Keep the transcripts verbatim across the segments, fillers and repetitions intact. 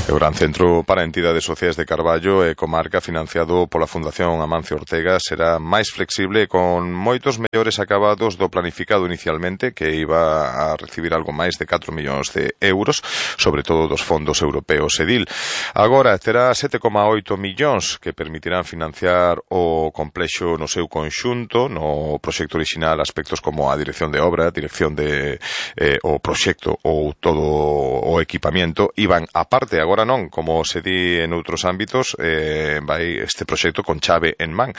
O Gran Centro para Entidades Sociais de Carballo e Comarca, financiado pola Fundación Amancio Ortega, será máis flexible con moitos mellores acabados do planificado inicialmente, que iba a recibir algo máis de catro millóns de euros, sobre todo dos fondos europeos E D I L. Agora terá sete coma oito millóns que permitirán financiar o complexo no seu conxunto, no proxecto orixinal aspectos como a dirección de obra, dirección de eh, o proxecto ou todo o equipamiento, iban aparte. Agora non, como se di en outros ámbitos, eh, vai este proxecto con chave en man.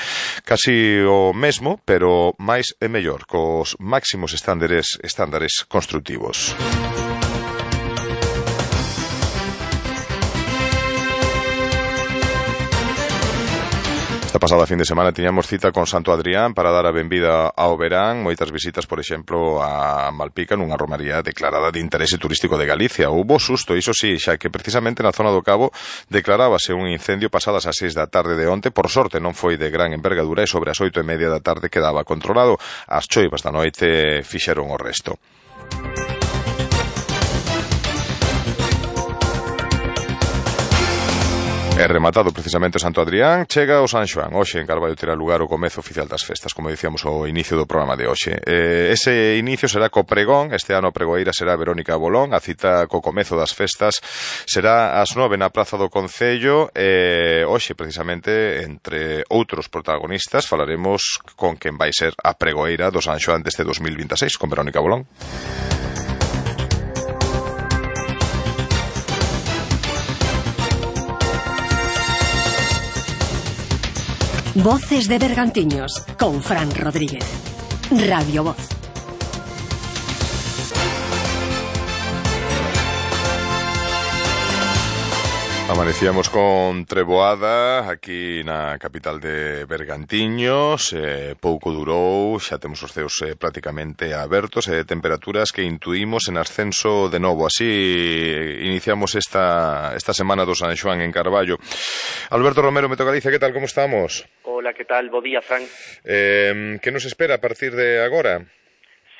Casi o mesmo, pero máis e mellor, cos máximos estándares, estándares constructivos. Esta pasada fin de semana tiñamos cita con Santo Adrián para dar a benvida ao verán, moitas visitas, por exemplo, a Malpica, nunha romaría declarada de interese turístico de Galicia. Houbo susto, iso sí, xa que precisamente na zona do Cabo declarábase un incendio pasadas as seis da tarde de onte. Por sorte non foi de gran envergadura e sobre as oito e media da tarde quedaba controlado. As choivas da noite fixeron o resto. É rematado precisamente Santo Adrián, chega o San Xoán. Hoxe en Carballo terá lugar o comezo oficial das festas, como dicíamos o inicio do programa de hoxe. Eh, ese inicio será co pregón, este ano a pregoeira será Verónica Bolón, a cita co comezo das festas será ás nove na Praza do Concello. E hoxe, precisamente, entre outros protagonistas, falaremos con quen vai ser a pregoeira do San Xoán deste dos mil vinte e seis, con Verónica Bolón. Voces de Bergantiños, con Fran Rodríguez. Radio Voz. Amanecíamos con treboada aquí na capital de Bergantiños, eh, pouco durou, xa temos os ceos eh, prácticamente abertos e eh, temperaturas que intuímos en ascenso de novo. Así iniciamos esta, esta semana do San Xoán en Carballo. Alberto Romero, Meteo Galicia, que tal, como estamos? Hola, que tal, bo día, Fran. Eh, que nos espera a partir de agora?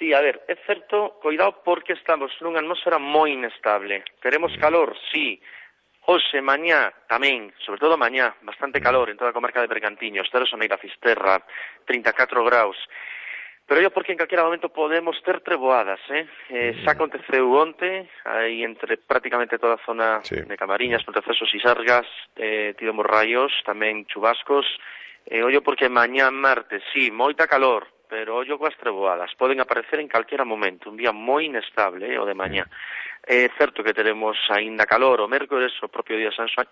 Sí, a ver, é certo, coidado porque estamos nunha atmosfera moi inestable. Teremos calor, sí. Hoxe, mañá, tamén, sobre todo mañá, bastante calor en toda a comarca de Bergantiños, Terra Soneira, Fisterra, trinta e catro graus. Pero yo porque en calquera momento podemos ter treboadas, eh? eh xa aconteceu onte, aí entre prácticamente toda a zona sí. de Camariñas, Pontecesos e Sargas, eh, tivemos raios, tamén chubascos. Eh, ollo porque mañá martes, sí, moita calor, pero ollo coas treboadas, poden aparecer en calquera momento, un día moi inestable, eh, o de mañá. É certo que teremos aínda calor o mércores, o propio día de San Xoán,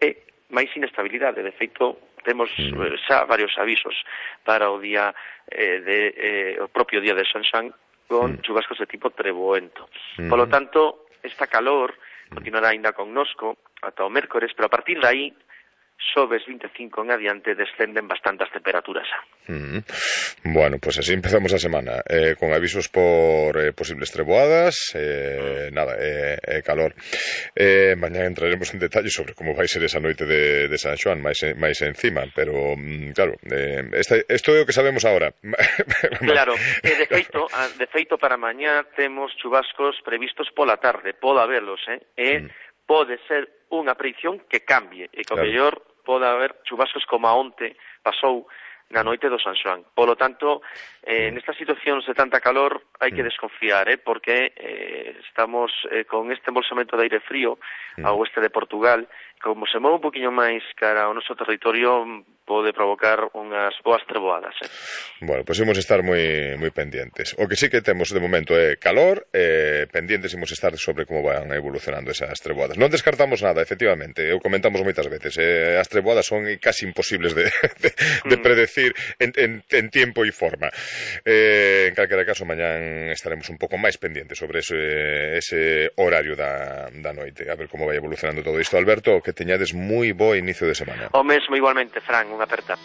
e máis inestabilidade. De feito, temos eh, xa varios avisos para o día eh, de, eh, o propio día de San Xoán con chubascos de tipo treboento. Por lo tanto, esta calor continuará aínda connosco ata o mércores, pero a partir de aí sobes vinte e cinco en adiante descenden bastantes temperaturas. Mm. Bueno, pues así empezamos a semana, eh, con avisos por eh, posibles treboadas, eh, mm. nada, eh, eh, calor. Eh, mañana entraremos en detalle sobre como vai ser esa noite de, de San Xoán, máis, máis encima, pero mm, claro, eh, esta, isto é o que sabemos agora. Claro, eh, de feito, de feito para mañá temos chubascos previstos pola tarde, pode haberlos, eh, e mm. pode ser unha predicción que cambie, e que o mellor pode haber chubascos como a onte pasou na noite do San Xoán. Polo tanto, eh, nestas situacións de tanta calor hai que desconfiar, eh, porque eh, estamos eh, con este embolsamento de aire frío ao oeste de Portugal. Como se move un poquinho máis cara ao noso territorio, pode provocar unhas boas treboadas. Eh. Bueno, pois pues imos estar moi moi pendientes. O que sí que temos de momento é calor, eh, pendientes imos estar sobre como van evolucionando esas treboadas. Non descartamos nada, efectivamente, o comentamos moitas veces, eh, as treboadas son casi imposibles de, de, de predecir en, en, en tiempo e forma. Eh, en calquera caso, mañán estaremos un pouco máis pendientes sobre ese, ese horario da, da noite, a ver como vai evolucionando todo isto. Alberto, que teñades moi bo inicio de semana. O mesmo igualmente, Fran, unha aperta.